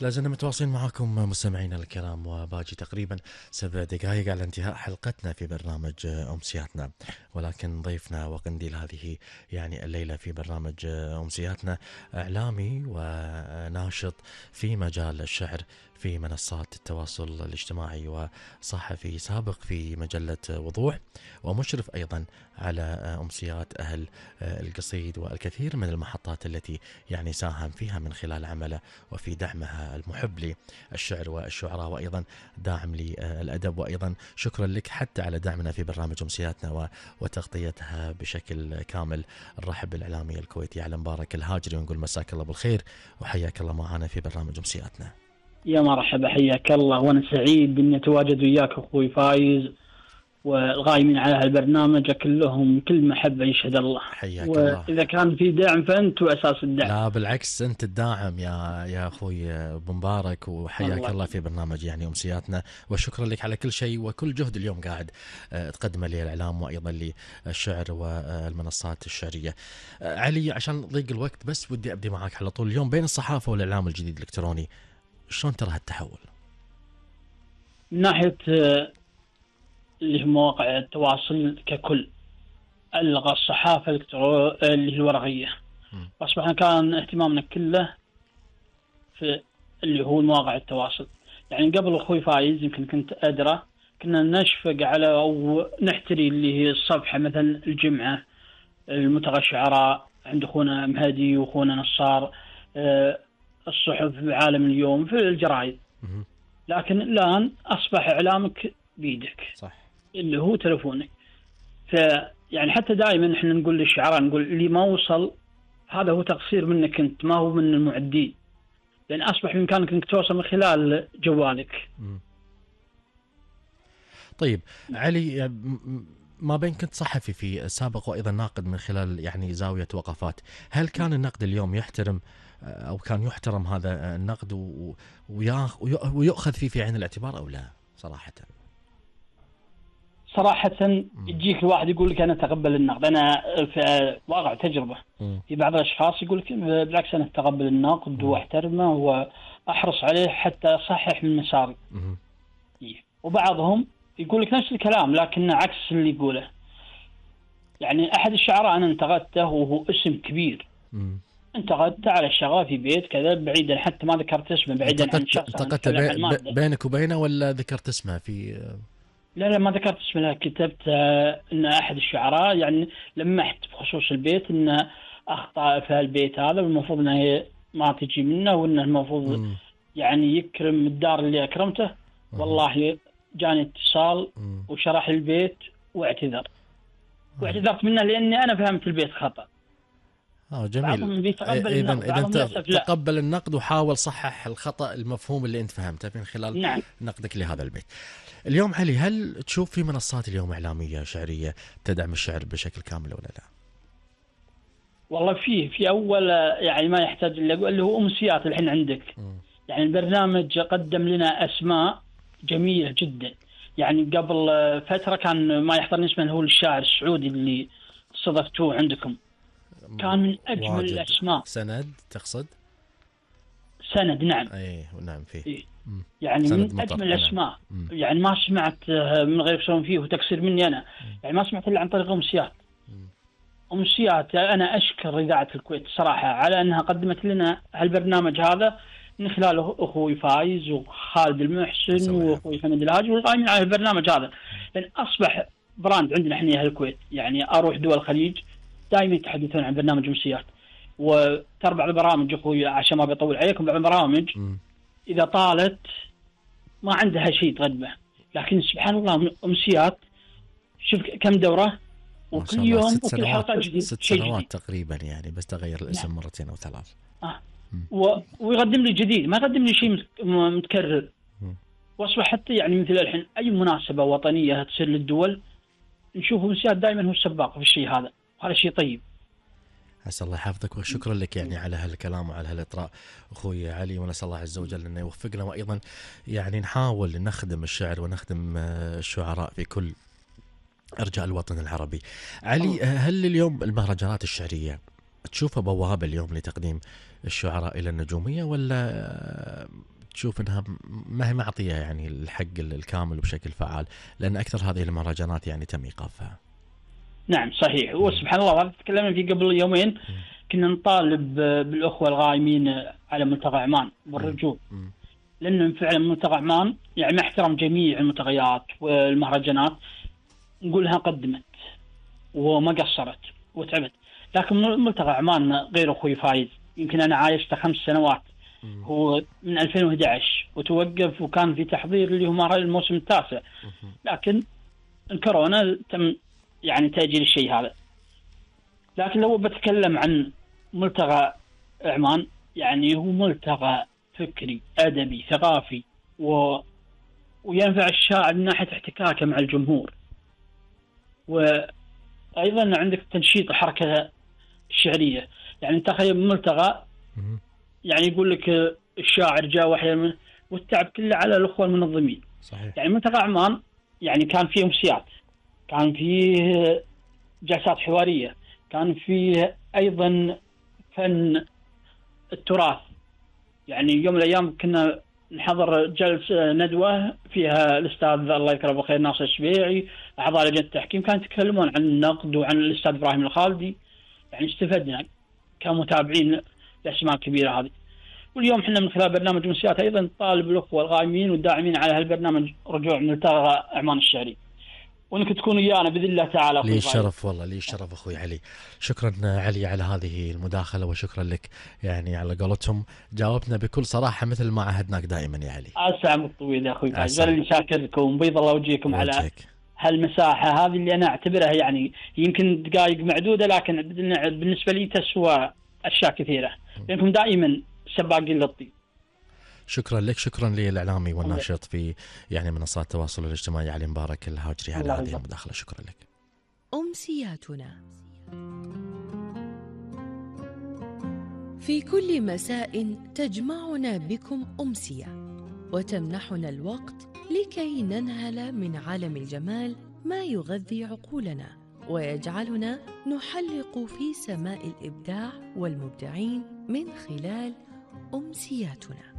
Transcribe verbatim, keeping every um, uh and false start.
لازلنا متواصلين معكم مستمعينا الكرام، وباقي تقريبا سبع دقائق على انتهاء حلقتنا في برنامج أمسياتنا، ولكن ضيفنا وقنديل هذه يعني الليلة في برنامج أمسياتنا إعلامي وناشط في مجال الشعر في منصات التواصل الاجتماعي، وصحفي سابق في مجلة وضوح، ومشرف أيضا على أمسيات أهل القصيد والكثير من المحطات التي يعني ساهم فيها من خلال عمله وفي دعمها المحب للشعر والشعراء، وأيضا داعم للأدب. وأيضا شكرا لك حتى على دعمنا في برنامج أمسياتنا وتغطيتها بشكل كامل. نرحب بالإعلامي الكويتي علي مبارك الهاجري ونقول مساك الله بالخير وحياك الله معنا في برنامج أمسياتنا. يا مرحبا، حياك الله، وانا سعيد اني اتواجد وياك اخوي فايز والغايمين على هالبرنامج كلهم كل محبه يشهد الله. حياك الله. واذا كان في دعم فانتوا اساس الدعم. لا بالعكس، انت الداعم يا يا اخوي ابو مبارك، وحياك الله. الله في برنامج يعني امسياتنا، وشكرا لك على كل شيء وكل جهد اليوم قاعد تقدمه للاعلام وايضا للشعر والمنصات الشعريه. علي، عشان ضيق الوقت بس ودي ابدي معك على طول. اليوم بين الصحافه والاعلام الجديد الالكتروني شلون ترى هالتحول؟ من ناحيه اللي هي مواقع التواصل ككل، ألغى الصحافة اللي هي الورقية، وأصبحنا كان اهتمامنا كله في اللي هو مواقع التواصل. يعني قبل أخوي فايز يمكن كنت أدرى كنا نشفق على أو نحتري اللي هي الصفحة مثلا الجمعة، الملتقى الشعراء عند أخونا مهدي وأخونا نصار، الصحف بعالم اليوم في الجرائد. لكن الآن أصبح إعلامك بيدك، صح، اللي هو تلفونك. فيعني حتى دائما احنا نقول للشعراء، نقول اللي ما وصل هذا هو تقصير منك انت، ما هو من المعدين، لان اصبح بامكانك انك توصل من خلال جوالك. م. طيب علي، ما بين كنت صحفي في سابق وايضا ناقد من خلال يعني زاوية وقفات، هل كان النقد اليوم يحترم او كان يحترم هذا النقد ويؤخذ فيه في عين الاعتبار او لا؟ صراحة صراحة يجيك الواحد يقول لك أنا أتقبل النقد. أنا في واقع تجربة م. في بعض الأشخاص يقول لك بالعكس أنا أتقبل النقد وأحترمه وأحرص عليه حتى أصحح من مساري. وبعضهم يقول لك نفس الكلام لكن عكس اللي يقوله. يعني أحد الشعراء أنا انتقدته وهو اسم كبير، م. انتقدت على الشغله في بيت كذا بعيدا، حتى ما ذكرت اسمه، بعيدا عن شخص. انتقدت بي بينك وبينه ولا ذكرت اسمه في؟ لا لا ما ذكرت اسمه، كتبت آه ان احد الشعراء يعني لمحت بخصوص البيت ان اخطا في البيت هذا والمفروض انه ما تجي منه، وانه المفروض م. يعني يكرم الدار اللي اكرمته. م. والله جاني اتصال م. وشرح البيت واعتذر، واعتذرت منه لاني انا فهمت البيت خطأ. اه جميل. اذا اذا انت تقبل النقد وحاول صحح الخطا المفهوم اللي انت فهمته من خلال نعم. نقدك لهذا البيت. اليوم علي، هل تشوف في منصات اليوم اعلاميه شعريه تدعم الشعر بشكل كامل ولا لا؟ والله فيه في اول يعني ما يحتاج الا اللي هو امسيات الحين عندك. م. يعني البرنامج قدم لنا اسماء جميله جدا. يعني قبل فتره كان ما يحضرني اسمه هو الشاعر السعودي اللي استضفتوه عندكم، كان من أجمل الأسماء. سند تقصد؟ سند نعم. أي نعم فيه. إيه. يعني من أجمل الأسماء. نعم. يعني ما سمعت من غير يسوون فيه وتقصير مني أنا. مم. يعني ما سمعت إلا عن طريق أمسيات. أمسيات أنا أشكر إذاعة الكويت صراحة على أنها قدمت لنا هالبرنامج هذا من خلال أخوي فايز وخالد المحسن وأخوي حمد الهاجي والقائمين على البرنامج هذا، لأن أصبح براند عندنا إحنا أهل الكويت. يعني أروح دول الخليج دائما يتحدثون عن برنامج أمسيات، وترى بعض البرامج اخوي عشان ما بيطول عليكم، بعض البرامج م. اذا طالت ما عندها شيء تقدمه، لكن سبحان الله أمسيات شوف كم دوره وكل يوم وكل حلقه جديد، ست سنوات تقريبا يعني، بس تغير الاسم نعم. مرتين او ثلاث. اه و... ويقدم لي جديد، ما يقدم لي شيء متكرر. م. واصبح حتى يعني مثل الحين اي مناسبه وطنيه تصير للدول نشوف أمسيات دائما هو السباق في الشيء هذا، وهذا شيء طيب. عسى الله يحفظك وشكرا لك يعني على هالكلام وعلى هالإطراء أخوي علي، ونسأل الله عز وجل أنه يوفقنا، وأيضا يعني نحاول نخدم الشعر ونخدم الشعراء في كل أرجاء الوطن العربي. علي، هل اليوم المهرجانات الشعرية تشوفها بوابة اليوم لتقديم الشعراء إلى النجومية، ولا تشوف أنها ما هي معطية يعني الحق الكامل وبشكل فعال، لأن أكثر هذه المهرجانات يعني تم إيقافها؟ نعم صحيح. وسبحان الله هذا تكلمنا فيه قبل يومين، كنا نطالب بالأخوة الغائمين على ملتقى عمان بالرجوع، لأنه فعلا ملتقى عمان يعني مع احترام جميع الملتقيات والمهرجانات نقولها قدمت وما قصرت وتعبت، لكن ملتقى عمان غير أخوي فايز يمكن أنا عايشته خمس سنوات، هو من ألفين وأحد عشر وتوقف وكان في تحضير اللي هو الموسم التاسع، لكن الكورونا تم يعني تأجيل الشيء هذا. لكن لو بتكلم عن ملتقى عمان يعني هو ملتقى فكري أدبي ثقافي و... وينفع الشاعر من ناحية احتكاكه مع الجمهور، وأيضا عندك تنشيط الحركة الشعرية. يعني تخيل ملتقى يعني يقول لك الشاعر جاء وحيا والتعب كله على الأخوة المنظمين. صحيح. يعني ملتقى عمان يعني كان فيه أمسيات، كان فيه جلسات حوارية، كان فيه أيضا فن التراث. يعني يوم من الأيام كنا نحضر جلسة ندوة فيها الأستاذ الله يذكره بالخير ناصر الشبيعي، أعضاء لجنة التحكيم، كانوا يتكلمون عن النقد وعن الأستاذ إبراهيم الخالدي. يعني استفدنا كمتابعين الأسماء الكبيرة هذه. واليوم احنا من خلال برنامج أمسيات أيضا نطالب الأخوة الغائمين والداعمين على هالبرنامج رجوع ملتقى عمان الشعري، وانك تكون ويانا باذن الله تعالى. لي الشرف والله، لي الشرف اخوي علي. شكرا علي على هذه المداخله، وشكرا لك يعني على قولتهم جاوبنا بكل صراحه مثل ما عهدناك دائما يا علي. اسعد الطويل يا اخوي فايز، انا شاكركم بيض الله وجهكم على هالمساحه هذه اللي انا اعتبرها يعني يمكن دقائق معدوده، لكن بالنسبه لي تسوى اشياء كثيره، لانكم دائما سباقين للطيب. شكرا لك، شكرا للإعلامي والناشط في يعني منصات التواصل الاجتماعي علي مبارك الهاجري على هذه المداخلة. شكرا لك. أمسياتنا في كل مساء تجمعنا بكم أمسية وتمنحنا الوقت لكي ننهل من عالم الجمال ما يغذي عقولنا ويجعلنا نحلق في سماء الإبداع والمبدعين من خلال أمسياتنا.